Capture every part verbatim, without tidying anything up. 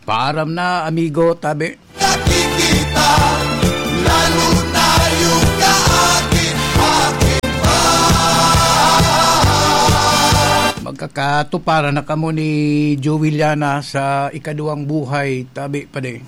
Paaram na, amigo, tabi. Nakikita, lalo na yung kaakit-akit pa. Magkakatuparan na kamo ni Joey Llana sa ikaduwang buhay, tabi, padi.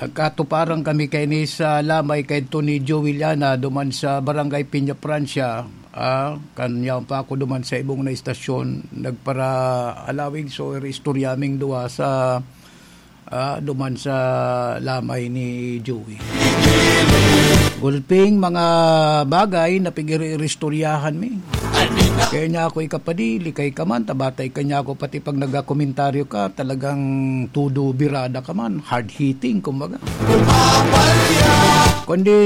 Nagkatuparan kami kaini sa lamay kay Tony Joey Llana duman sa Barangay Peña Francia. Ah, kan yaon pa ako duman sa ibong na istasyon, nagpara-alawig, so, istorya ming duwa sa, ah, duman sa lamay ni Joey. Gulping mga bagay na pigiri-iristoryahan mi. Kaya niya ako ikapadili, kay ka man, tabatay ka niya ako, pati pag nagkakomentaryo ka, talagang todo birada ka man, hard-hitting, kumbaga. Kundi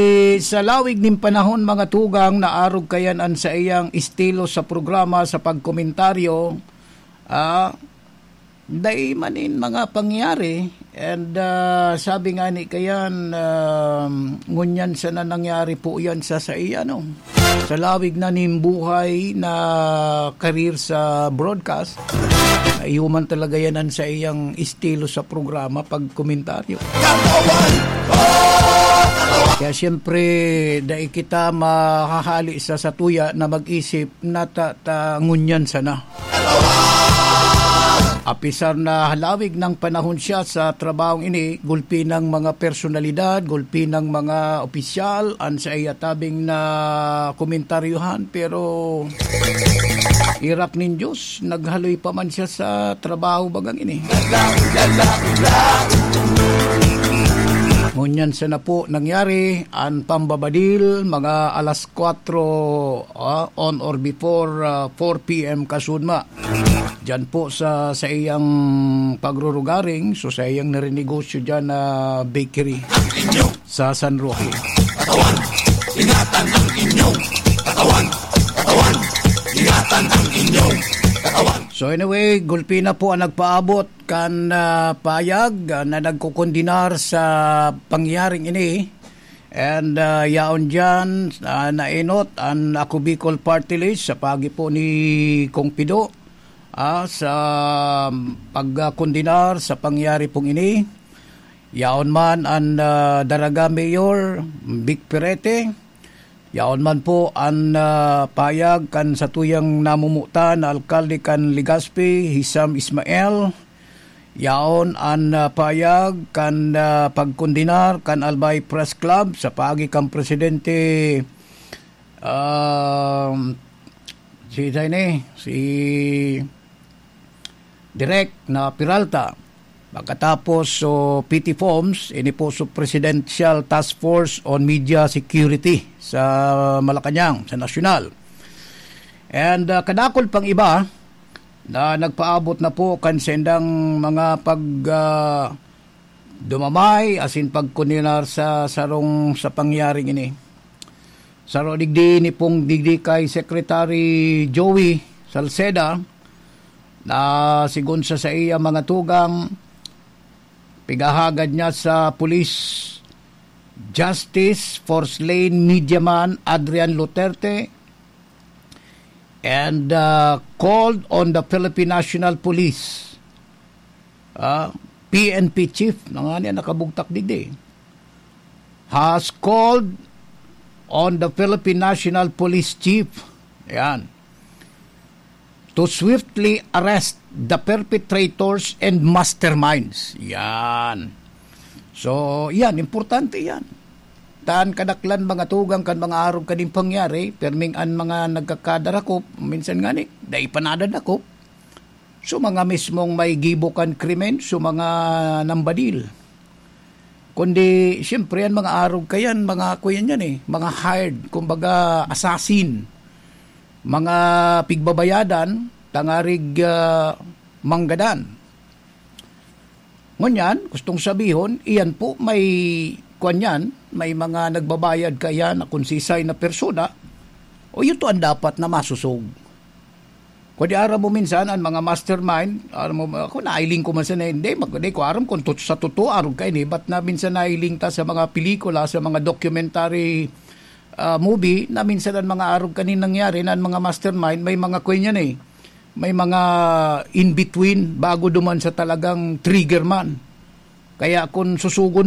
sa lawig nin panahon, mga tugang, naarog kayan an saiyang estilo sa programa, sa pagkomentaryo, ah, dai man nin mga pangyayari. And, ah, sabi nga ni kayan, um, ngunyan sana nangyari po yan sa, sa iya, no? Sa lawig na nin buhay na career sa broadcast, naihuman talaga yan an saiyang estilo sa programa, pagkomentaryo. Kaya siyempre, dai kita mahahali sa satuya na mag-isip na ta, ta ngunyan sana. Apisar na halawig ng panahon siya sa trabahong ini, gulpi ng mga personalidad, gulpi ng mga opisyal, an sa iya tabing na komentaryohan, pero irak nin Diyos, naghaloy pa man siya sa trabaho bagang ini. Ngunyan sana po nangyari an pambabadil, mga alas kwatro, ah, on or before, ah, four p m kasudma. Diyan po sa, sa iyang pagrurugaring, so sa iyang narinegosyo diyan na bakery sa San Roque. Katawan, ingatan ang inyong katawan. Katawan, ingatan ang inyong katawan. So anyway, gulpi na po ang nagpaabot kan, ah, payag, ah, na nagkukondenar sa pangyaring ini. And, ah, yaon diyan, ah, nainot an Ako Bicol Party List sa pagi po ni Kong Pido, ah, sa pagkondenar sa pangyari pong ini. Yaon man an, ah, Daraga Mayor Vic Perete. Yaon man po an, ah, payag kan satuyang namumutan na alkalde kan Legazpi, Hisam Ismael. Yaon an, ah, payag kan, ah, pagkondenar kan Albay Press Club sa paagi kan presidente, um, si, sino ini? Si Direk na Peralta. Pagkatapos, so, P T Foms, ini po so Presidential Task Force on Media Security sa Malacañang, sa nasyonal. And, ah, kadakul pang iba, na nagpaabot na po kan sendang mga pag, ah, dumamay asin pagkondenar sa sarong sa pangyaring ini. Saro digdi ni pong digdi kay Secretary Joey Salceda na sigon sa saiya mga tugang, pigahagad niya sa pulis justice for slain media man Adrian Luterte and, uh, called on the Philippine National Police, uh, P N P chief, na nga niya nakabugtak digdi, has called on the Philippine National Police chief, yan, to swiftly arrest the perpetrators and masterminds. Yan. So, yan, importante yan. Tan kadaklan mga tugang kan mga arog kaning pangyari, perming an mga nagkakadarakop, minsan ngani, dai pa nadadakop. So, mga mismong may gibo kan krimen, so mga nambadil. Kundi, siyempre, an mga arog kayan, mga kuyan yan eh, mga hired, kumbaga, assassin. Mga pigbabayadan, tangarig, ah, manggadan. Ngunyan, gustong sabihon, iyan po may, kuwan yan, may mga nagbabayad kaya na kung sisay na persona, o yun to ang dapat na masusog. Kundi aram mo minsan, ang mga mastermind, aram mo, ako, nailing ko man sana, hindi, mag-, hindi ko aram kung tot-, sa totoo, arog ka ini, but na minsan nailing ta sa mga pelikula, sa mga documentary, ah, movie na minsan ang mga arog kanin nangyari na ang mga mastermind, may mga kwan yan eh. May mga in-between bago duman sa talagang trigger man. Kaya kung susugon